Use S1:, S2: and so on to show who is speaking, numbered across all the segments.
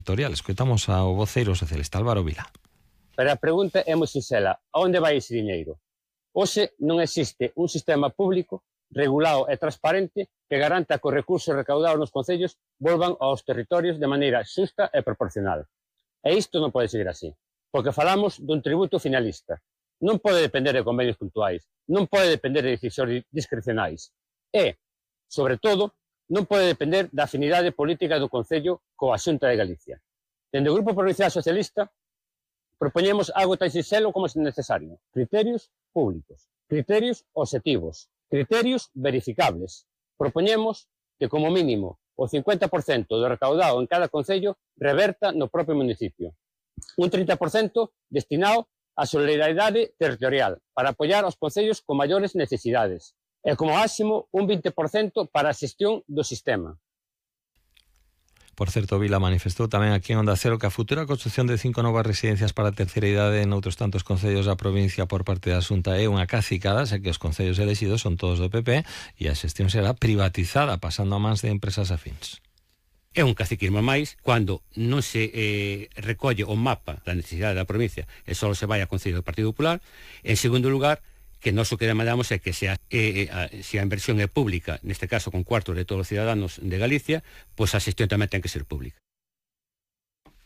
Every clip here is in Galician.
S1: territorial. Escoitamos ao voceiro socialista Álvaro Vila.
S2: Pero a pregunta é moi sinxela: a onde vai ese diñeiro? Hoxe non existe un sistema público regulado e transparente que garanta que os recursos recaudados nos concellos volvan aos territorios de maneira xusta e proporcional. E isto non pode seguir así, porque falamos dun tributo finalista. Non pode depender de convenios puntuais, non pode depender de decisións discrecionais. E, sobre todo, non pode depender da afinidade política do Concello coa Xunta de Galicia. Dende o Grupo Provincial Socialista propoñemos algo tan sinxelo como se necesario: criterios públicos, criterios obxectivos, criterios verificables. Propoñemos que, como mínimo, o 50% do recaudado en cada concello reverta no propio municipio. Un 30% destinado á solidariedade territorial para apoiar aos concellos con maiores necesidades. E como máximo un 20% para a xestión do sistema.
S1: Por certo, Vila manifestou tamén aquí en Onda Cero que a futura construción de 5 novas residencias para a terceira idade en outros tantos concellos da provincia por parte da Xunta é unha cacicada, xa que os concellos elexidos son todos do PP e a xestión será privatizada, pasando a mans de empresas afíns.
S3: É un caciquismo máis cando non se recolle o mapa da necesidade da provincia e só se vai a Concello do Partido Popular. En segundo lugar, que nós o que demandamos é que se a inversión é pública, neste caso con cuartos de todos os ciudadanos de Galicia, pois a xestión tamén ten que ser pública.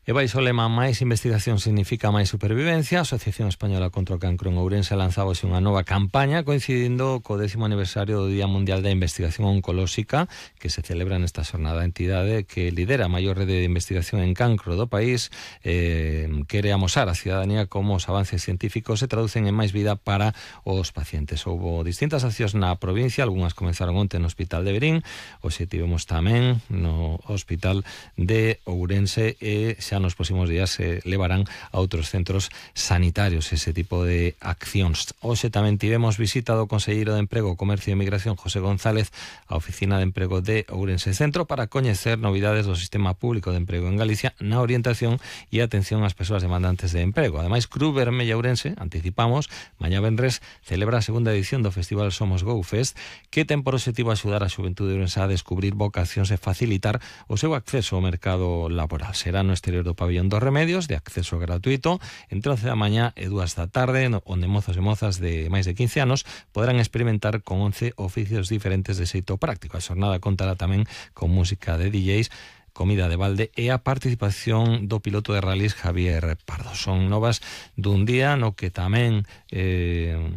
S1: E baixo o lema máis investigación significa máis supervivencia, a Asociación Española contra o Cancro en Ourense lanzaba unha nova campaña coincidindo co 10º aniversario do Día Mundial da Investigación Oncolóxica que se celebra nesta xornada. A entidade que lidera a maior rede de investigación en cancro do país quere amosar a ciudadanía como os avances científicos se traducen en máis vida para os pacientes. Houbo distintas accións na provincia, algunhas comenzaron onte no Hospital de Verín, hoxe tivemos tamén no Hospital de Ourense e xa nos próximos días se levarán a outros centros sanitarios ese tipo de accións. Hoxe tamén tivemos visita do Conselleiro de Emprego, Comercio e Migración, José González, á Oficina de Emprego de Ourense Centro para coñecer novidades do sistema público de emprego en Galicia na orientación e atención ás persoas demandantes de emprego. Ademais, Cruz Vermella Ourense, anticipamos, mañá venres celebra a segunda edición do Festival Somos Go Fest, que ten por objetivo axudar a xuventude ourense a descubrir vocacións e facilitar o seu acceso ao mercado laboral. Será no exterior do Pabellón dos Remedios, de acceso gratuito, entre 11 da mañá e 2 da tarde, onde mozos e mozas de máis de 15 anos poderán experimentar con 11 oficios diferentes de xeito práctico. A xornada contará tamén con música de DJs, comida de balde e a participación do piloto de rallies Javier Pardo. Son novas dun día no que tamén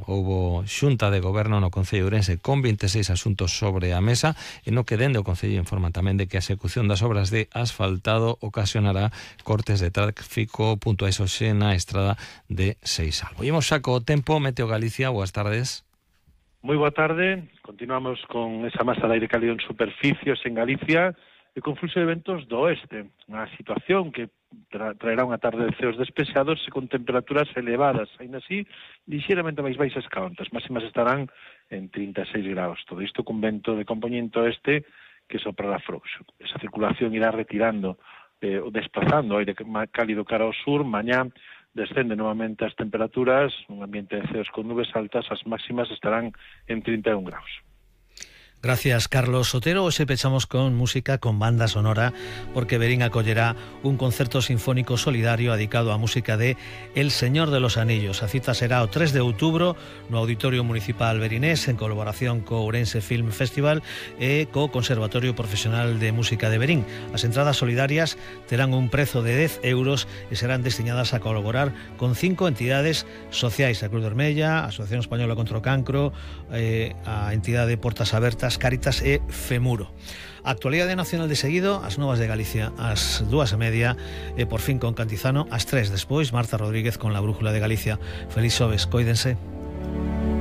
S1: houbo xunta de goberno no Concello de Ourense con 26 asuntos sobre a mesa e no que dende o Concello informan tamén de que a execución das obras de asfaltado ocasionará cortes de tráfico puntuais hoxe na estrada de Seisalvo. Imos xa co tempo. Meteo Galicia, boas tardes.
S4: Moi boa tarde. Continuamos con esa masa de aire cálido en superficios en Galicia e con fluxo de ventos do oeste, unha situación que traerá unha tarde de ceos despejados e con temperaturas elevadas, aínda así, lixeiramente máis baixas que onte. As máximas estarán en 36 graus. Todo isto con vento de compoñente oeste que soprará frouxo. Esa circulación irá retirando ou desplazando o aire cálido cara ao sur. Mañá descende novamente as temperaturas, un ambiente de ceos con nubes altas, as máximas estarán en 31 graus.
S5: Gracias, Carlos Sotero. Hoxe pechamos con música, con banda sonora, porque Verín acollerá un concerto sinfónico solidario dedicado á música de El Señor de los Anillos. A cita será o 3 de outubro no Auditorio Municipal Verinés en colaboración co Ourense Film Festival e co Conservatorio Profesional de Música de Verín. As entradas solidarias terán un prezo de 10 euros e serán destinadas a colaborar con 5 entidades sociais: a Cruz Vermella, a Asociación Española contra o Cancro, a entidade Portas Abertas, Cáritas e Femuro. A actualidade nacional de seguido, as novas de Galicia ás 2:30 e por fin con Cantizano ás 3. Despois Marta Rodríguez con la Brújula de Galicia. Feliz xoves, cóidense.